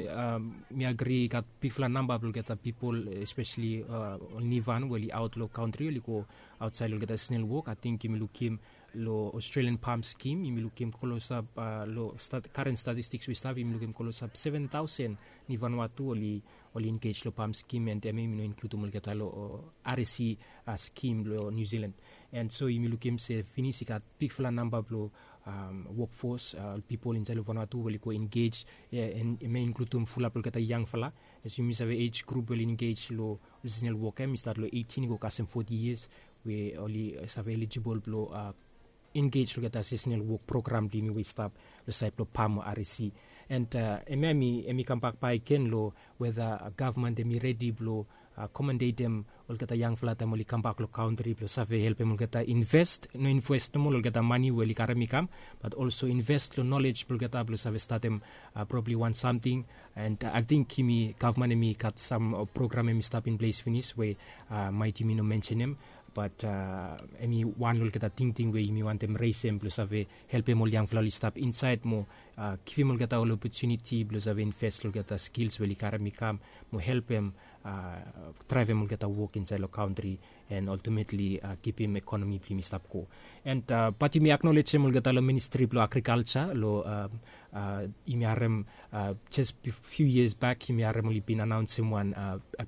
mi agri i gat bigfala namba blong olgeta pipol, espeseli ol nivan we oli aot long kantri oli go aotsaed long olgeta seasonal wok. Ating yumi lukim long Australian PALM skim, yumi lukim klosap long karen statistiks we i stap, yumi lukim klosap seven taosen ni Vanuatu oli engej long PALM skim, and hemia yumi no inkludim olgeta long RSE skim long New Zealand. And so yumi lukim se finis i gat bigfala namba blong wokfos, ol pipol insaed long Vanuatu we oli go engej, and hemia i inkludim fulap olgeta yangfala. As yumi save ej grup we oli engej long seasonal wok hem i stat long eighteen i go kasem forty years, we oli save elijibol blong engej long olgeta seasonal wok program blong yumi we i stap long saed blong PALM o RSE. And hemia hemi kambak bakegen long weda gavman hem i redi blong akomodetem olgeta yangfala taem oli kambak long kantri blong save helpem olgeta inves, no inves nomo long olgeta mane we oli karem i kam, bat olso inves long nolej blong olgeta blong save statem probabli wan samting. And ating yumi gavman hemi gat sam program hemi stap in ples finis we maet yumi no mensenem, bat hemi wan long olgeta tingting we yumi wantem resem blong save helpem ol yangfala oli stap insaed mo givim olgeta ol opotuniti blong save inves long olgeta skils we oli karem i kam mo helpem draevem olgeta wok insaed long kantri, and ultimately kipim ekonomi blong yumi stap go. And bat yumi aknolejem olgeta long ministri blong agrikalja long yumi harem jes fiu yias bak yumi harem oli bin anaonsem wan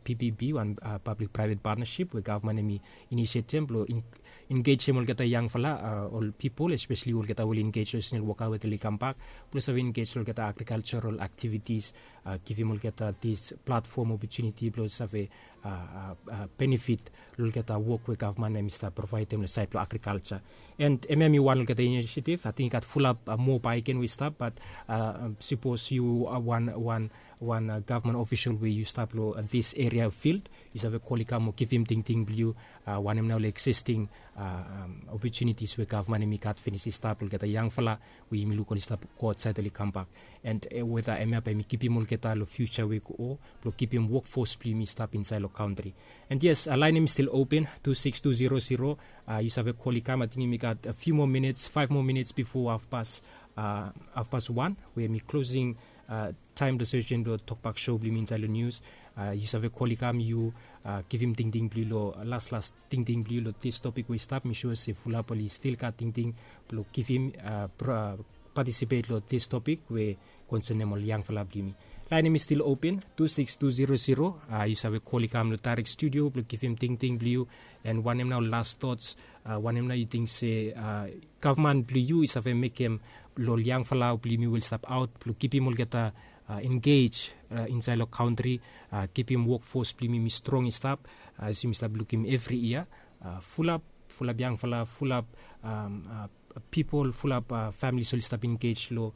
PPP, wan pablik praevet patnasip we gavman hemi inisiatem blong engejem olgeta yangfala, ol pipol espeseli olgeta we oli engej long seasonal woka we oli kambak blong save engej long olgeta agrikaljaral aktivitis, givim olgeta dis platfom opotuniti blong save benefit long olgeta wok we gavman hemi stap provaedem long saed blong agrikalja. And hemia hemi wan long olgeta inisiativ. Ating i gat fulap moa bakegen we i stap, bat sipos yu wan wan gavman ofisol we yu stap long dis eria of fild, yu save kol i kam mo givim tingting blong yu wanem nao ol eksisting opotunitis we gavman hemi gat finis i stap long olgeta yangfala we yumi luk oli stap go aotsaed oli kambak. And weda hemia bae yumi kipim olgeta long fiuja we i go, blong kipim wokfos blong yumi stap insaed long kantri. And yes, laen hemi stil open, tu sikis tu zero zero. Yu save kol i kam. Ating yumi gat fiu moa minits, faef moa minits bifo hafpas hafpas wan we hemi klosing taem blong sesen blong tokbak sou blong yumi insaed long nius. Yu save kol i kam, yu givim tingting blong yu long laslas tingting blong yu long dis topik we i stap. Mi sua se fulap oli stil gat tingting blong givim, patisipet long dis topik we konsenem ol yangfala blong yumi. Laen hemi stil open, tu sikis tu zero zero. Yu save kol i kam long daerek studio blong givim tingting blong yu. And wanem nao las tots, wanem nao yu ting se gavman blong yu i save mekem long ol yangfala blong yumi we oli stap aot blong kipim olgeta engej insaed long kantri, kipim wokfos blong yumi strong i stap. As yumi stap lukim evri yia, fulap fulap yangfala, fulap pipol, fulap familis oli stap engej long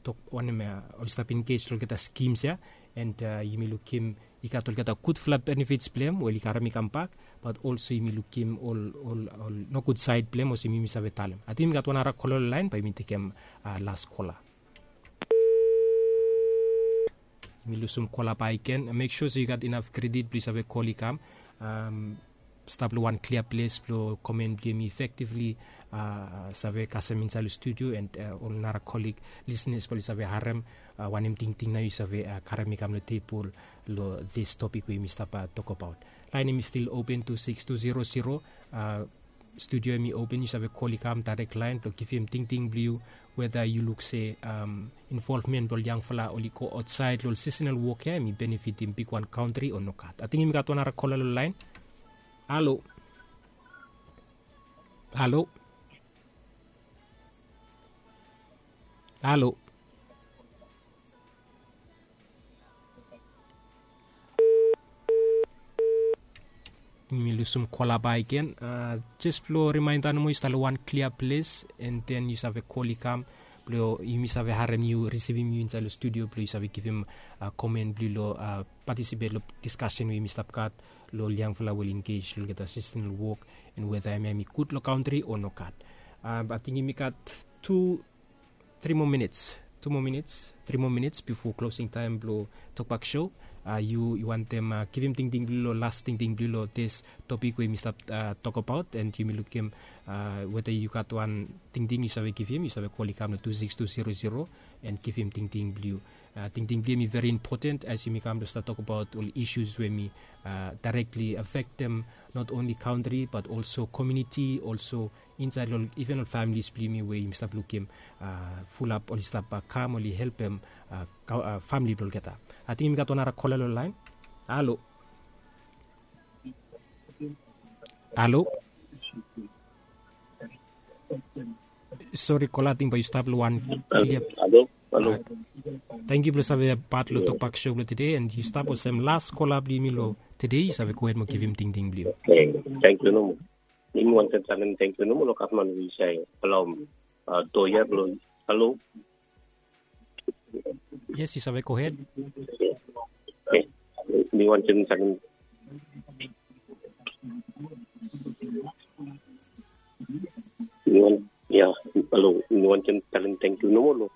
tok wanem ya, oli stap engej long olgeta skims ya. And yumi lukim i gat olgeta gudfala benefits blong hem we oli karem i kambak, bat olso yumi lukim ol ol ol nogud saed blong hem olsem yumi save talem. Ating yumi gat wan nara kola long laen bae yumi tekem las kola. Yumi lusum kola bakegen. Mek sua se yu gat inaf kredit blong yu save kol i kam stap long wan klia ples blong komen blong yumi efektivli save kasem insaed long studio, and ol nara kolig lisnas blong oli save harem wanem tingting nao yu save karem i kam long tebol long dis topik we yumi stap tokbaot. Laen hemi stil open, tu sikis tu zero zero. Studio hemi open, yu save kol i kam daerek laen blong givim tingting blong yu, weda yu luk se involvmen blong ol yangfala oli go aotsaed long ol sisenal wok ya hemi benefitim bigwan kantri o nogat. Ating yumi gat wan nara kola long laen. Halo? Halo? Halo? Yumi lusum kola bakegen. Jes blong rimaenda nomo, yu stap long wan klia ples, and then yu save kol i kam blong yumi save harem yu, risivim yu insaed long studio blong yu save givim komen blong yu long patisipet long diskasen we yumi stap gat long ol yangfala we oli engej long olgeta sisenal wok, and weda hemia hemi gud long kantri o nogat. Ating yumi gat tu tri moa minits, tu moa minits, tri moa minits bifo klosing taem blong Tokbak Show. Yu wantem givim tingting blong yu long las tingting blong yu long dis topik we yumi stap tokbaot, and yumi lukim weta yu gat wan tingting yu save givim, yu save kol i kam long tu sikis tu zero zero and givim tingting blong yu. Tingting blong yu em i veri impoten as yumi kam blong stap tokbaot ol isus we em i daerekli afektem not onli kantri bat olso komiuniti, olso insaed long iven ol familis blong yumi we yumi stap lukim fulap oli stap kam oli helpem famili blong olgeta. Ating yumi gat wan nara kola long laen. Halo. Halo. Sori kola, ating bae yu stap long wan klia. Halo. Tangkiu blong save pat long Tokbak Show blong tede, and yu stap olsem las kola blong yumi long tede, yu save gohed mo givim tingting blong yu. Tangkiu nomo. Yumi wantem talem tangkiu nomo long gavman we yu save alaoem doa ya blong. Halo. Yes, yu save gohed. Mi wantem talem. Mi wan ya, halo, mi wantem talem tangkiu nomo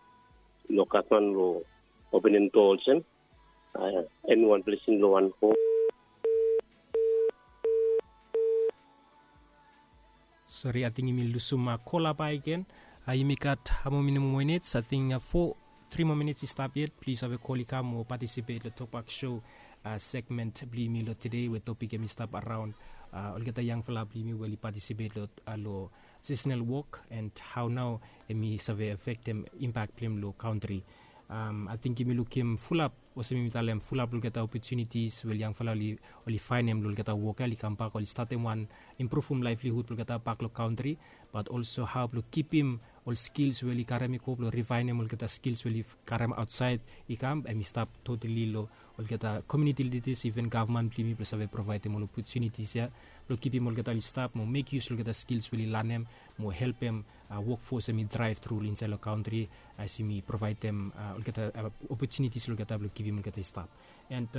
long gavman long openem doa olsem. Em i wan blesing long wan hom. Sori, ating yumi lusum kola bakegen. Yumi gat moa minit, moa minits, ating fo, tri moa minits i stap yet. Plis save kol i kam mo patisipet long Tokbak Show segmen blong yumi long tede we topik em i stap araon olgeta yangfala blong yumi we oli patisipet long sisonal wok and hao nao em i save afektem impak blong hem long kantri. Ating yumi lukim fulap olsem yumi talem fulap long olgeta opotunitis we ol yangfala oli faenem long olgeta wok ya oli kambak oli statem wan impruvum laevlihud blong olgeta bak long kantri, bat olso hao blong kipim ol skils we oli karem i go blong rivaenem olgeta skils we oli karem aotsaed i kam, em i stap totali long olgeta komiuniti lidas, iven gavman blong yumi blong save provaedem ol opotunitis ya blong kipim olgeta oli stap mo mek yus long olgeta skils we oli lanem mo helpem wokfos em i draev tru insaed long kantri as yumi provaedem olgeta opotunitis long olgeta blong givim olgeta i stap. And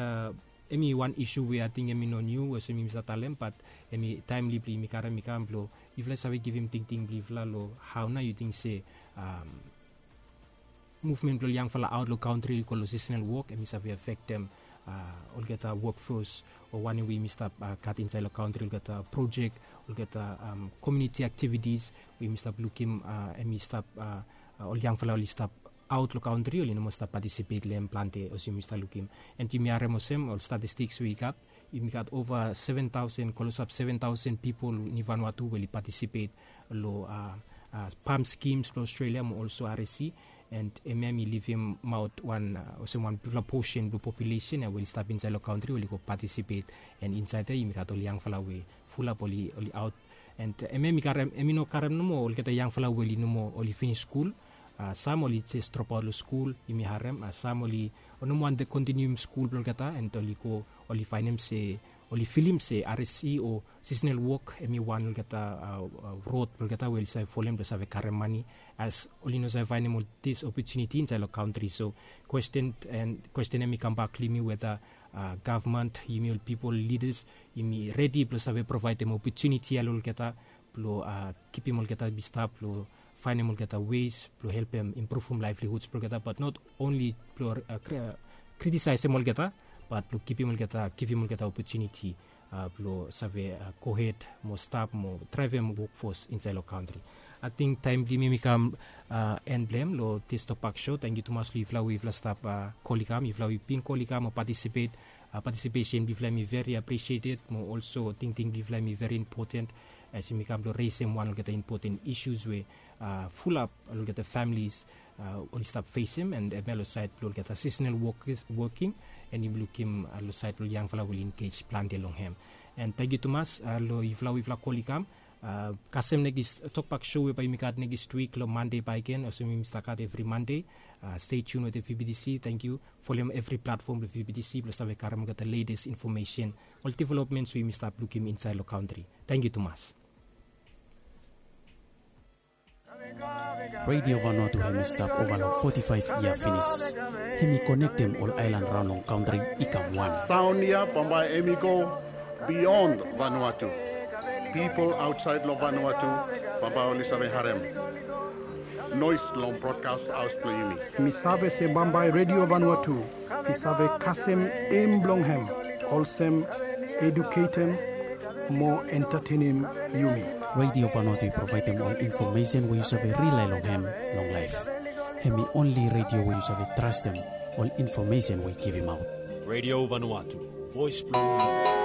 em i wan isu we ating em i no niu olsem yumi save talem, bat em i taemli blong yumi karem i kam blong yufala i save givim tingting blong yufala long hao nao yu ting se muvmen blong ol yangfala aot long kantri i go long sisonal wok em i save afektem olgeta wokfos o wanem we yumi stap gat insaed long kantri, olgeta projek, olgeta komiuniti aktivitis we yumi stap lukim em i stap ol yangfala oli stap aot long kantri oli no moa stap patisipet long hem plante olsem yumi stap lukim. And yumi harem olsem ol statistiks we i gat, yumi gat ova seven taosen, klosap seven taosen pipol ni Vanuatu we oli patisipet long pam skims blong Australia mo olso R S C. And hemia hemi livimaot wan olsem wan bigfala posen blong populesen ya we oli stap insaed long kantri we oli go patisipet. And insaed ya yumi gat ol yangfala we fulap oli aot. And hemia hemi no karem nomo olgeta yangfala we oli no moa oli finis skul. Sam oli jes dropaot long skul, yumi harem sam oli no moa wantem kontinium skul blong olgeta, and oli go oli faenem se oli filim se R S C o sisonal wok hemi wan olgeta rod blong olgeta we oli save folem blong save karem mane. As oli no save faenem ol dis opotuniti insaed long kantri. So kwesten, and kwesten hemi kambak long yumi weta gavman, yumi ol pipol lidas, yumi redi blong save provaedem opotuniti ya long olgeta blong kipim olgeta i stap long faenem olgeta wes blong helpem impruvum laevlihuds blong olgeta, bat not onli blong kritisaesem olgeta, bat blong kipim olgeta, givim olgeta opotuniti blong save gohed mo stap mo draevem wokfos insaed long kantri. Ating taem blong yumi hemi kam en blong hem long dis Tokbak Show. Tangkiu tumas long yufala we yufala stap kol i kam, yufala we i bin kol i kam mo patisipet. Patisipesen blong yufala hemi veri apresieted mo olso tingting blong yufala hemi veri impoten as yumi kam blong resem wan olgeta impoten isus we fulap olgeta familis oli stap fesem, and hemia long saed blong olgeta sisonal woking, and yumi lukim long saed blong ol yangfala we oli engej plante long hem. And tangkiu tumas long yufala we yufala kol i kam. Kasem nekis Tokbak Show we bae yumi gat nekis wik long Mande bakegen olsem yumi stap gat evri Mande. Stay tuned wetem V B T C. Tangkiu. Folem evri platfom blong V B T C blong save karem olgeta letes infomesen, ol developments we yumi stap lukim insaed long kantri. Tangkiu tumas. Radio Vanuatu hemi stap ova long foti faef yia finis. Hemi konektem ol aelan raon long kantri i kam wan. Saon ya bambae hemi go bion Vanuatu. Pipol aotsaed long Vanuatu bambae oli save harem. Nois long brodkas haos blong yumi. Mi save se bambae Redio Vanuatu i save kasem em blong hem olsem eduketem mo entatenem yumi. Redio Vanuatu i provaedem ol infomesen we yu save rilae long hem long laef. Hem i onli redio we yu save trastem ol infomesen we i givimaot. Redio Vanuatu, voes blong yumi.